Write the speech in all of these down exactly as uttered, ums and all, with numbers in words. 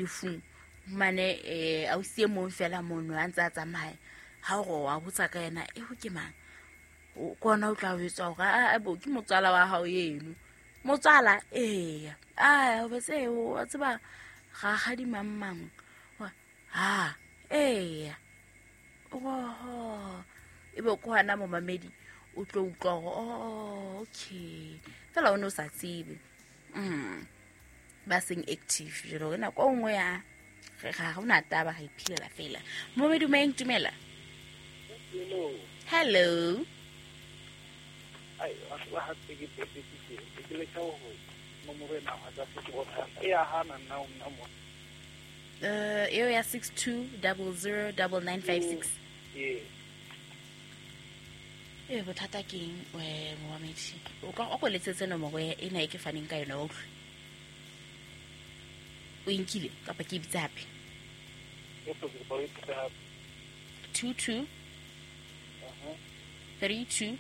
lefung mane eh ausi e mong fela mono a ntse a tsamaya ha o re wa botsa ka yena e ho ke mang o kona o tla o etsa hore a bo ke motswala wa hao eno motswala eya a o betse o tseba ga ga di mang mang ha eya oho e be ko hana momamedi o tlo utlwa hore oh okay fela o no sa tsebe mm ba seng active jalo re nako nngwe ya ga go na taba ga iphilela fela momamedi mo tumela. Hello. Hello. Ai wa ha ke ke ke ke le ka ho nomoro ena wa tsa ke bona e ya hana nna o nna mo eh eo ya six two zero zero nine nine five six eh e bothata ke eng we momamedi o ka o go letsetse nomoro ena e ke faneng ka yona o utlwe o inkile kapa ke bitse hape two two three two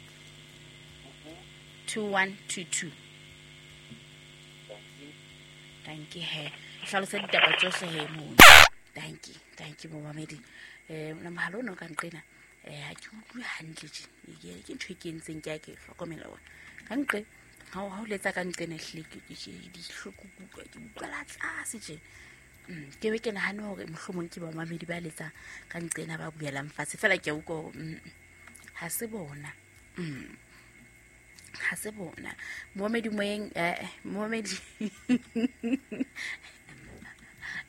two one two two. Thank you he hlalosa ditaba tsohle he mono. Thank you, thank you momamedi. Eh na mohalo no ka nqena eh ha ke utlwe hantle tje ke ntho e ke entseng ke a ke hlokomela ona ka nqe ha o ha o letsa ka nqena hle ke ke dihloko kutlwa ke utlwa la tlase tje. Ke be ke nahane hore mohlomong ke bamamedi ba letsa ka nqena ba buelang fatshe fela ke a utlwa hore ha se bona. Mm ha se bona momamedi moyeng eh momamedi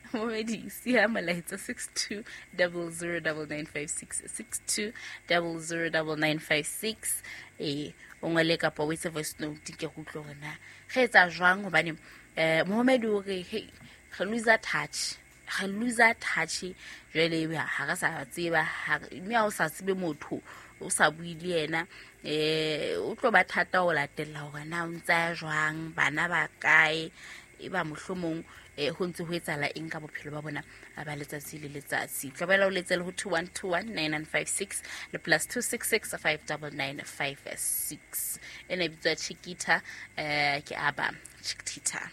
momamedi siya molaetsa six two zero zero nine nine five six six two zero zero nine nine five six eh o ngole kapa o etse voice note ke go utlwe hore na re etsa jwang hobane eh momamedi o re hey re lose touch re lose touch jwale ha re sa tseba mme ha o sa tsebe motho o sa bue le yena eh o tlo ba thata ho latella hore na o ntsa jwang bana ba kae e ba mohlomong eh ho ntse ho etsala eng ka bophelo ba bona ba letsatsi le letsatsi. Tlobela o letsele ho two one two one nine nine five six le plus two six six five nine nine five six. Ena e bitswa Chiquita eh ke aba Chiquita.